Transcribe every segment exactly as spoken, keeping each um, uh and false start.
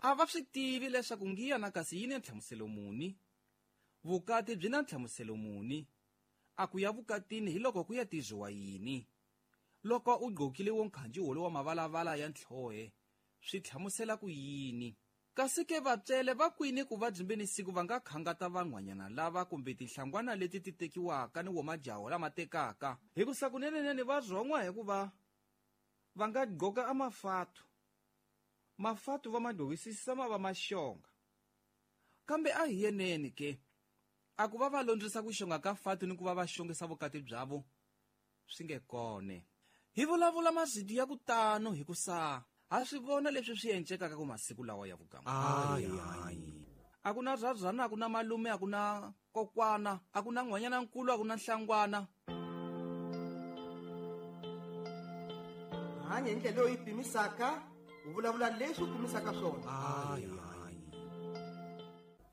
A va swi tivi leswaku ngiya na kasi yi ni nhlamuselo muni, vukati byi na nhlamuselo muni, a ku ya vukatini hi loko ku ya tiziwa yini. Loko u gqokile wo nkhanji wolo wa mavalavala ya ntlhohe, swi hlamusela ku yini. Kasi ke vatswele va kwini ku va byimbeni siku va nga khangata van'wanyana lava kumbe tinhlangwana leti ti tekiwaka ni wo majaho lama tekaka. Hikusa kunenenene va rhon'wa hikuva va nga gqoka a mafatu. Mafatu va ma gqokisisa ma va maxonga. Kambe a hi yeneni ke, a ku va va londzisa ku xonga ka fatu ni ku va va xongisa vukati byavo, swi nge kone. Hi vulavula mazidi ya ku tano hikusa ha swi vona leswi swi encekaka ku masiku lawa ya vuganga. Ayi. A ku na rhazana, a ku na malume, a ku na kokwana, a ku na n'hwanyana nkulu, a ku na nhlangwana. Hanya hi ndlela leyi pimisaka, u vulavula leswi u pimisaka swona. Ayi.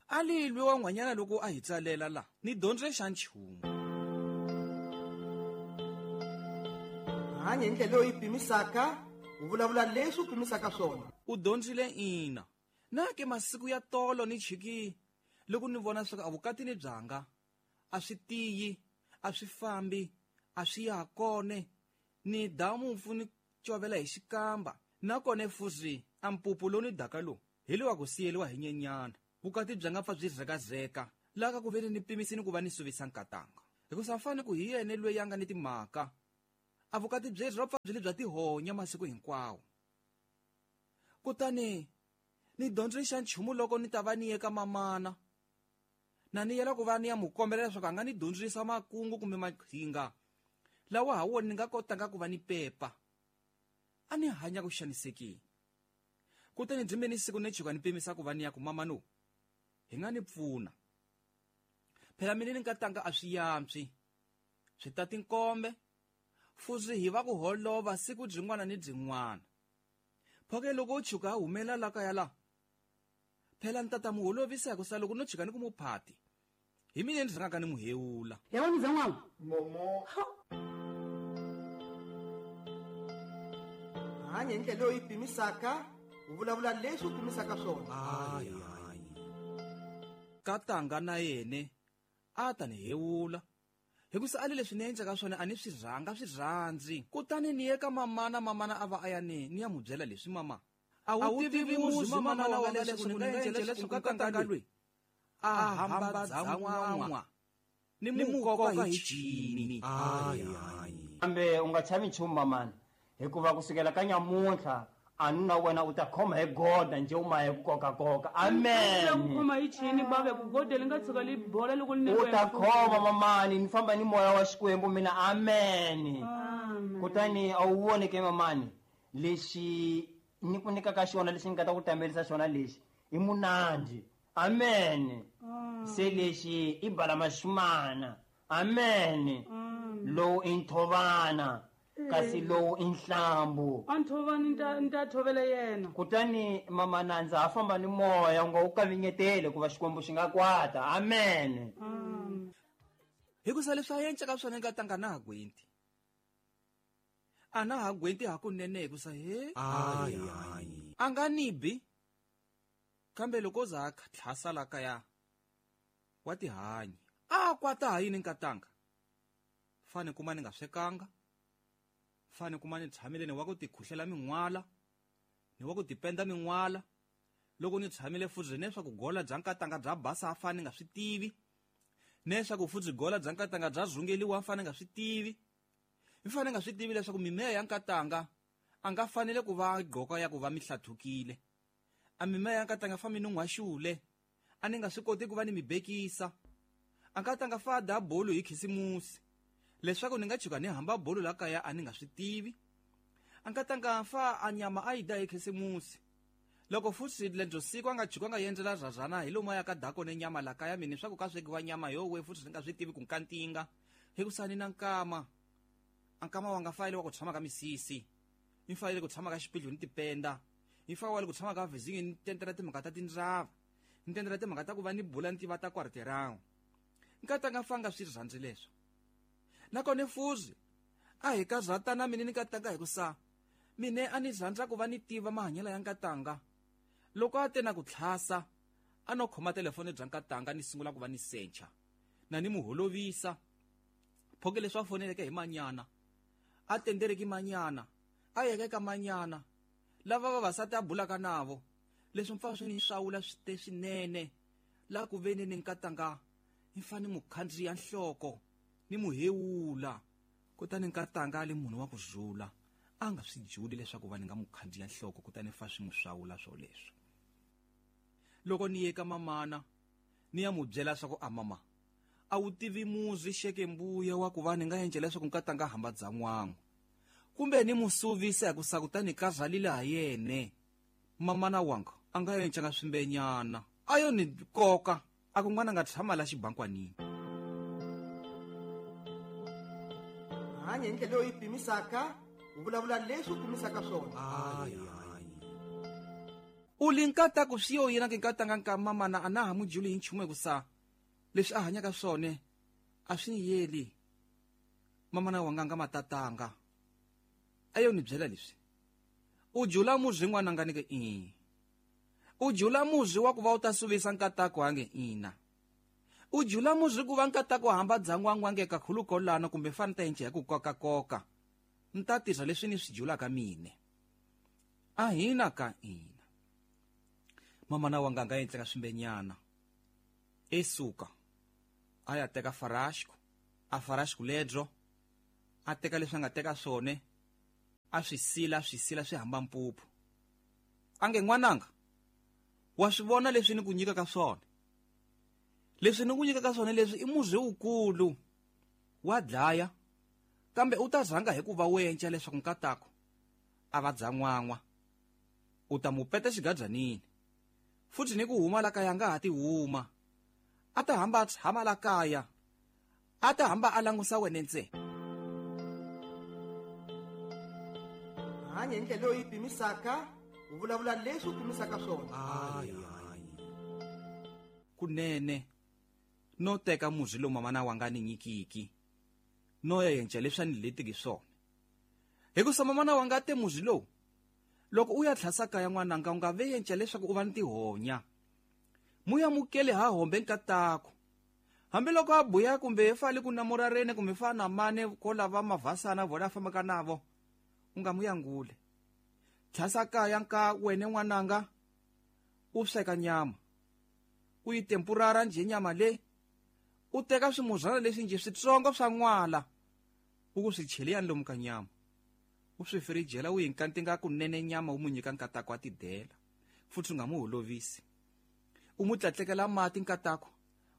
A lilwi wa n'hwanyana loko a hi tsalela la, ni dyondze xa nchumu. Hanya hi ndlela leyi pimisaka, u vulavula leswi u pimisaka swona. U dyondzile ina. Na ke masiku ya tolo ni chiki loko ni vona leswaku a vukatini byanga a swi tiyi, a swi fambi, a swi ya kone, ni damu ni covela hi xikamba. Nakona fuzi a mpupu lowu ni daka lowu hi lowa ku siyeriwa hi nyenyana. Vukati byanga pfa byi zekazeka laha ka ku veni ni pimisini ku va ni suvisa nkatanga. Hikusa fane ku hi yena loyi a nga ni timhaka. A vukati byeri ro pfa byi le bya tihonya masiku hinkwawo. Kutani ni dyondze xa nchumu loko ni ta va ni ye ka mamana. Na ni yela ku va ni ya mu kombela leswaku a nga ni dyondzisa makungu kumbe maqhinga lawa ha wona ni nga kotanga ku va ni pepa. A ni hanya ku xanisekile. Kutani byi ni siku ni chuka ni pimisa ku va ni ya ku mama no, hi nga ni pfuna. Phela mina ni nkatanga a swi yantswi. Swi ta tinkombe. Fuzi hi va ku holova siku byin'wana ni byin'wana. Phoke loko u chuka a humela la kaya la, phela ni tata mu holovisa hikusa loko no chuka ni ku mu phati, hi mina ni rhangaka ni mu hewula. Ya vona mzan'wana? Momo. Hanya hi ndlela leyi pimisaka, u vulavula leswi u pimisaka swona. Ayi. Katanga na yene a ta ni hewula. Hikusa a le leswi ni endlaka swona a ni swi rhanga swi rhandzi. Kutani ni ye ka mamana, mamana a va a ya ni, ni ya mu byela leswi mama. A wu tivi muzi mamana wa nga leswi ni nga endlela leswi nkatanga loyi a hamba dzan'wan'wa ni mu koka hi chini. Ayi. Kambe u nga chavi nchumu mamana, hikuva kusukela ka nyamuntlha a ni na wena u ta khoma hi goda nje u ma hi ku kokakoka. Amen. U ta khoma hi chini bave ku goda li nga tshuka li bola loko li U ta khoma mamani, ni famba ni moya wa Xikwembu mina. Amen. Kutani a wu voni ke mamani, lexi ni ku nyikaka xona, lexi ni nga ta ku tamelisa xona lexi i munandi. Amen. Se lexi i bala maxumana. Amen. Lowu i nthovana, kasi lowu i nhlambu. A nthovani nta nta thovela yena. Kutani mama na ndza ha famba ni moya, u nga wu kavinyetele ku va Xikwembu xi nga kwata. Amen. Hikusa leswi a enceka swona nkatanga na ha gwenti. A na ha gwenti hakunene hikusa he. Ayi. A nga ni bi. Kambe loko za a tlhasa la kaya wa tihanyi. A kwata ha yini nkatanga? Fane kuma ni nga swekanga. Fane kuma ni tshamile ni wa ku tikhuhlela min'wala, ni wa ku tipenda min'wala. Loko ni tshamile futhi leswaku gola bya nkatanga bya basa a fane nga swi tivi. Leswaku futhi gola bya nkatanga bya rhungeliwa a fane nga swi tivi. Ni fane nga swi tivi leswaku mimeya ya nkatanga a nga fanele ku va gqoka ya ku va mihlathukile. A mimeya ya nkatanga fa mi nun'hwaxule, a ni nga swi koti ku va ni mi bekisa. A nkatanga fa da bolo hi khisimusi, leswaku ni nga chuka ni hamba bolo la kaya a ni nga swi tivi. A nkatanga fa a nyama a yi da hi khisimusi. Loko futhi lendlo siku a nga chuka nga endlela rhazana hi lomu ya ka dako ne nyama la kaya mina swa ku ka swekiwa nyama yo we futhi ni nga swi tivi ku nkantinga. Hikusa ni na nkama. A nkama wa nga fayile wa ku tshama ka misisi. Ni fayile ku tshama ka xipidlu ni tipenda. Ni fayile ku tshama ka vizingi ni tendela timhaka ta tindzava. Ni tendela timhaka ta ku va ni bula ni tiva ta kwarterawu. Nkatanga fanga swi rhandzi leswo. Nakona fuzi a hi ka rhatana mina ni nkatanga hikusa mine a ni rhandza ku va ni tiva mahanyelo ya nkatanga. Loko a te na ku tlhasa a no khoma telefoni bya nkatanga ni sungula ku va ni sencha na ni muholovisa phoke leswi a foneleke hi manyana a tendereki manyana a yeke ka manyana lava vavasati a bulaka navo leswi mpfa swi ni swawula swi te swinene la ku veni ni nkatanga ni fane mukhandziya nhloko ni muhewula. Kutani nkatanga ali munhu wa ku zula a nga swi juli leswaku va ni nga mukhandziya nhloko kutani fa swi mu swawula swo leswo. Loko ni ye ka mamana ni ya mu byela swa ku a mama a wu tivi muzi xeke mbuya wa ku va ni nga endla leswaku nkatanga hamba dzan'wangu kumbe ni musuvisa hi ku sa kutani ka zalile ha yene. Mamana wanga a nga encanga swimbenyana a yo ni koka a ku n'wana nga tshama la xibankwanini. Hanya hi ndlela leyi pimisaka u vulavula leswi u pimisaka swona. U li nkataku swi yo yena ke nkatanga nka mamana a na ha mu juli hi nchumu hi ku sa leswi a hanyaka swona a swi ni yeli. Mamana wanga nga matatanga a yo ni byela leswi u jula muzi n'wana nga ni ke i u jula muzi wa ku va u ta suvisa nkatako ange ina u jula muzi ku va nkatako hamba dzangwangu ange kakhulukolana kumbe fana ta enche ya ku kokakoka ni ta tirha leswi ni swi julaka mine a hina ka ina. Mamana wanga nga endleka swimbenyana esuka a ya teka farashku a farashku ledro a teka leswi a nga teka swona a swi sila swi sila swi hamba mpuphu ange n'wananga wa swi vona leswi ni ku nyika ka swona leswi ni ku nyika ka swona leswi i muzi wukulu wa dlaya kambe u ta zanga hi ku va wenca leswaku nkatako a va dzan'wan'wa u ta mu peta xigadzanini futhi ni ku huma la kaya nga ha ti huma a ta hamba a tshama la kaya a ta hamba a langusa wena ntsena. Hanya hi ndlela leyi pimisaka u vulavula leswi u pimisaka swona. Kunene no teka muzi lowu mamana wanga ni nyikiki no ya yenca leswi a ni letiki swona hikusa mamana wanga te muzi lowu loko u ya tlhasa kaya n'wananga u nga ve yenca leswaku u va ni tihonya muya mukele ha hombe nkatako hambiloko a buya kumbe fali ku namurarene kumbe fa na mane ko lava mavhasana vona a fambaka navo u nga muyangule. Tlhasa kaya nka wene n'wananga u sweka nyama u yi tempurara njhe nyama le u teka swimuzana leswi njhe switsongo swa n'wala u ku swi cheleyani lomu ka nyama u swi firijela u yi nkantinga kunene nyama u mu nyika nkatako a tidela futhi u nga mu holovisi u mu tlatlekela mati nkatako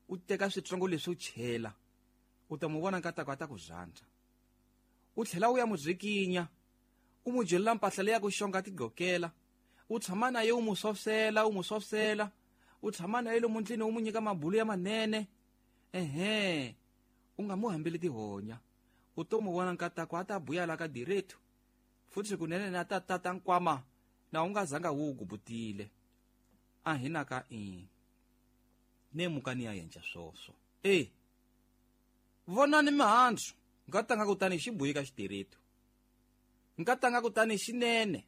u teka switsongo leswi u chela u ta mu vona nkatako a ta ku zandza u tlhela u ya mu zikinya u mu jelela mpahla leyi ya ku xonga tigokela u tshama na ye u mu sofsela u mu sofsela u tshama na ye lomu ndlwini u mu nyika mabulu ya manene ehe u nga mu hambeli tihonya u to mu vona nkatako a ta buya la ka direto futhi kunene na ta tata nkwama na u nga zanga wu gubutile a hina ka i ne mukani ya yenca swoswo e vonani mihandzu nkatanga kutani xi buyi ka xidireto nkatanga kutani xinene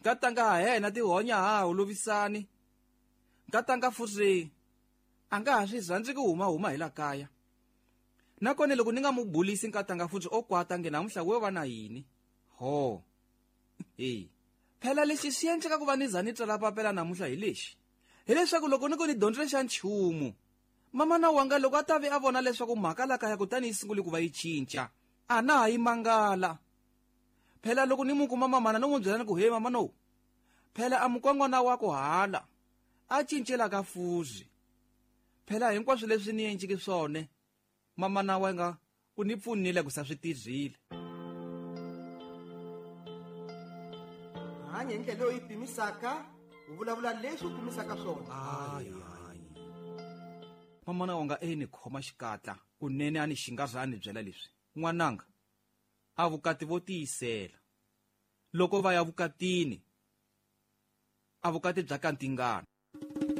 nkatanga ha hena tihonya ha holovisani nkatanga futhi a nga ha swi rhandzi ku huma huma hi la kaya nakona loko ni nga mu bulisi nkatanga futhi o kwata nge namuntlha we va na yini ho e phela lexi xi endleka ku va ni za ni tsala papela namuntlha hi lexi hileswaku loko ni ku ni dyondzile xa nchumu mamana wanga loko a ta ve a vona leswaku mhaka la kaya kutani yi sungule ku va yi cinca a na ha yi mangala. Phela loko ni mu kuma mamana no n'wi byela ni ku he mama no phela a mukon'wana wa ku hala a cincela ka fuzi phela hinkwaswo leswi ni enciki swona mamana wanga u ni pfunile ku sa swi tirhile. Hanya hi ndlela leyi pimisaka u vulavula leswi u pimisaka swona. Mamana wanga e ni khoma xikatla kunene a ni xingaza a ni byela leswi n'wananga a vukati vo tiyisela loko va ya vukatini a vukati bya kantingana.